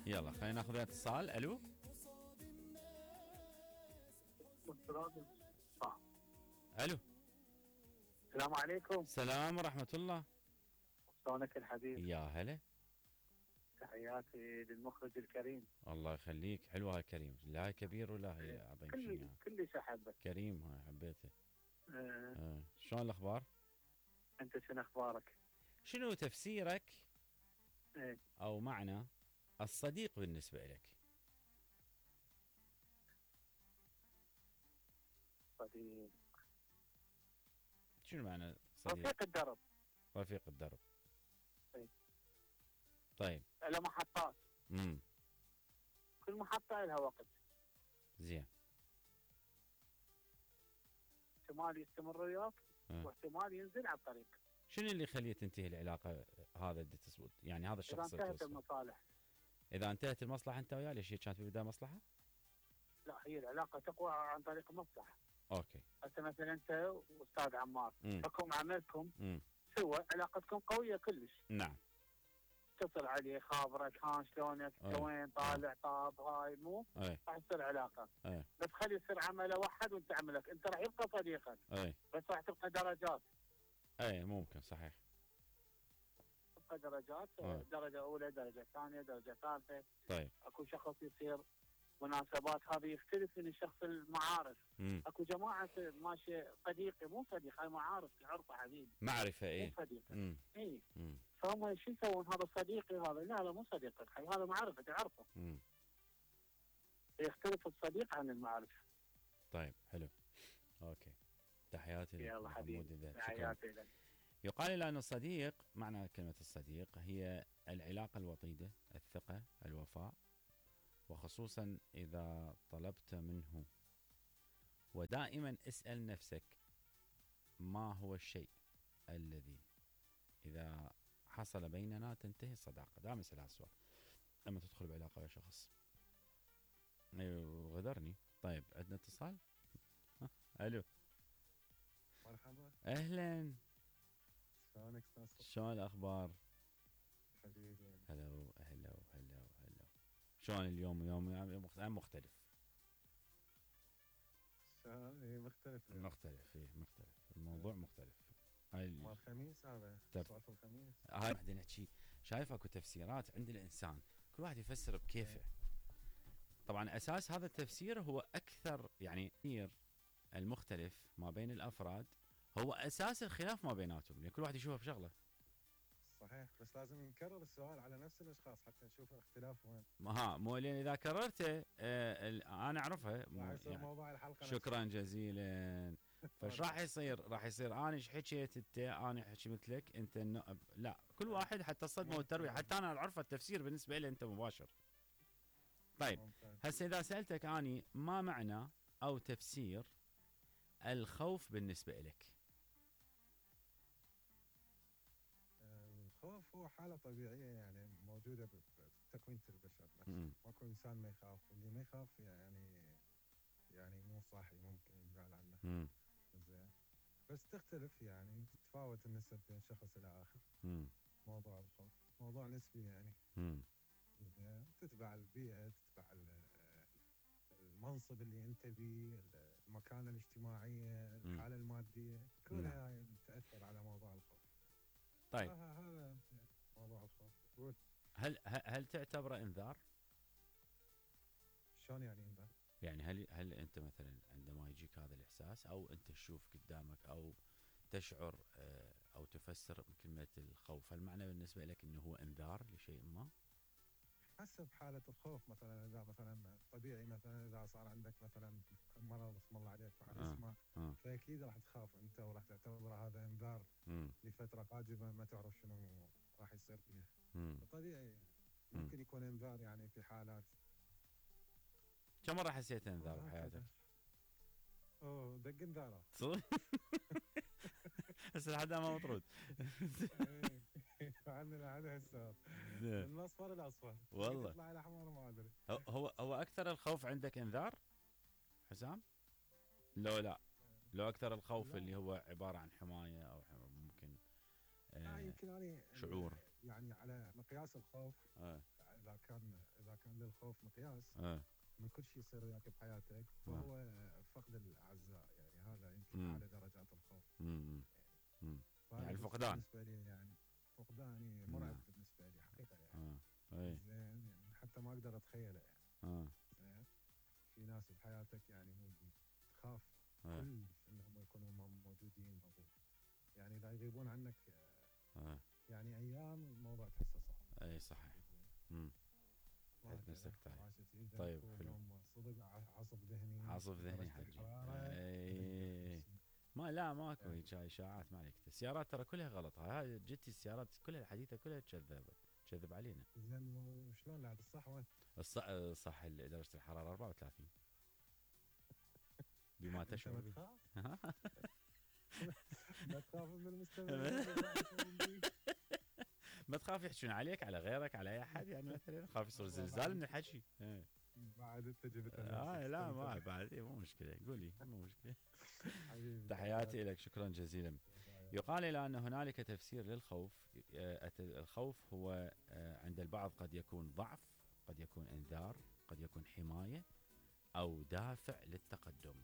يلا خلينا ناخذ اتصال. الو. الو. السلام عليكم. السلام ورحمة الله. شلونك الحبيب؟ يا هلا. تحياتي للمخرج الكريم. الله يخليك. حلوة هاي كريم، لا هاي كبير ولا هي عظيم شيء. كلش احبك. كريم هاي حبيته. أه. شلون الاخبار؟ انت شنو اخبارك؟ شنو تفسيرك ايه او معنى الصديق بالنسبة لك؟ صديق. شنو معنى صديق؟ رفيق الدرب. رفيق الدرب. ايه. طيب. له محطات. كل محطة لها وقت. زين. احتمال يستمر وياك واحتمال ينزل على الطريق. شنو اللي يخليه تنتهي العلاقة هذا اللي تثبت؟ يعني هذا الشخص إذا انتهت المصالح. إذا انتهت المصلحة أنت وياه، ليش هي كانت في البداية مصلحة؟ لا، هي العلاقة تقوى عن طريق المصلحة. أوكي. هسه مثلا أنت وأستاذ عمار حكم عملكم سوا، علاقتكم قوية كلش. نعم. اتصل عليه، خابرك، ها شلونك، وين طالع، طاب، هاي مو راح تصير علاقة. بس خلي يصير عمله واحد وانت عملك، انت راح يبقى صديقك. بس راح تبقى درجات. ممكن صحيح. تبقى درجات. درجة أولى، درجة ثانية، درجة ثالثة. طيب. اكو شخص يصير مناسبات، هذا يختلف من الشخص المعارف. اكو جماعة ماشي صديقي، مو صديق، هاي معارف تعرفه حبيبي. معرفة. مو صديق. فهم شو يسوون؟ هذا صديقي، هذا لا مو صديقك، هذا معرفة تعرفه. يختلف الصديق عن المعرفة. طيب حلو. اوكي. تحياتي لك. يلا حبيبي. تحياتي لك. يقال لي أن الصديق، معنى كلمة الصديق هي العلاقة الوطيدة، الثقة، الوفاء، وخصوصا إذا طلبت منه. ودائما اسأل نفسك ما هو الشيء الذي إذا حصل بيننا تنتهي الصداقة. دائما اسأل هذا السؤال لما تدخل بعلاقة ويا شخص. غدرني. طيب عندنا اتصال. الو. مرحبا. اهلا. شلونك استاذ؟ شلون الاخبار؟ حبيبي. هلا. شلون اليوم؟ يوم مختلف. مختلف. الموضوع مختلف. مال الخميس هذا. سؤال الخميس. هاي بعدين نحكي. شايف اكو تفسيرات عند الانسان، كل واحد يفسر بكيفه. طبعا اساس هذا التفسير هو اكثر، يعني المختلف ما بين الافراد هو اساس الخلاف ما بيناتهم، يعني كل واحد يشوفه بشغله. صحيح، بس لازم نكرر السؤال على نفس الاشخاص حتى نشوف الاختلاف وين. مو لان اذا كررته انا اعرفها يعني موضوع الحلقه. شكرا جزيلا. فايش راح يصير؟ راح يصير انا ايش حكيت انت، انا احكي مثلك انت لا، كل واحد حتى الصدمه والترويع، حتى انا اعرف التفسير بالنسبه لي انت مباشر. طيب هسه اذا سالتك اني ما معنى او تفسير الخوف بالنسبه لك؟ الخوف هو حالة طبيعية يعني موجودة بتكوينة البشر. ماكو إنسان ما يخاف، اللي ما يخاف يعني مو صاحي، ممكن ينقال عنه. زين. بس تختلف، يعني تتفاوت النسب بين شخص إلى آخر. موضوع الخوف موضوع نسبي يعني. تتبع البيئة، تتبع المنصب اللي أنت بيه، المكانة الاجتماعية، الحالة المادية، كلها هاي تأثر على موضوع الخوف. طيب هذا موضوع الخوف. هل تعتبره انذار؟ شلون يعني انذار؟ يعني هل انت مثلا عندما يجيك هذا الاحساس او انت تشوف قدامك او تشعر او تفسر كلمة الخوف، هل معنى بالنسبة لك انه هو انذار لشيء ما؟ حسب حالة الخوف. مثلا اذا مثلا طبيعي، مثلا اذا صار عندك مثلا مرض اسم الله عليك راح تسمع، فاكيد راح تخاف انت وراح تعتبر هذا انذار لفترة قادمة ما تعرف شنو راح يصير فيها. طبيعي ممكن يكون انذار يعني في حالات. كم مرة حسيت انذار بحياتك؟ دق انذارات. هسه لحد ما مطرود. عندنا هذا السؤال من الاصفر الاصفر والله يطلع الاحمر ما ادري. هو اكثر الخوف عندك انذار حسام؟ لا لو اكثر الخوف اللي هو عبارة عن حماية او ممكن يمكن يعني شعور يعني على مقياس الخوف. اذا كان للخوف مقياس من كل شيء يصير وياك بحياتك، فهو فقد الاعزاء، يعني هذا يمكن اعلى درجات الخوف. يعني الفقدان بالنسبه لي، يعني فقداني مرعب بالنسبه لي حقيقه يعني. زين يعني حتى ما اقدر اتخيله يعني. زين في ناس بحياتك يعني تخاف كلش انهم يكونوا موجودين، او يعني اذا يغيبون عنك يعني ايام، الموضوع تحسه صعب. اي صحيح. تحس نفسك طيب حلو. صدق عصف ذهني، عصف ذهني حجي. اي ما لا ماكو هيك اشاعات، ما عليك. السيارات ترى كلها غلط، هاي جتي السيارات كلها الحديثه كلها تكذب علينا. زين وشلون بعد الصح وين؟ الصح درجه الحراره 34 بما تشعر به. ما تخاف من المستمعين؟ ما تخاف يحجون عليك، على غيرك، على اي احد يعني، مثلا خاف يصير زلزال من الحكي. بعد انت جبت لا ما بعد مو مشكله، قولي مو مشكله. تحياتي لك، شكرا جزيلا. يقال الى ان هنالك تفسير للخوف. الخوف هو عند البعض قد يكون ضعف، قد يكون انذار، قد يكون حمايه، او دافع للتقدم.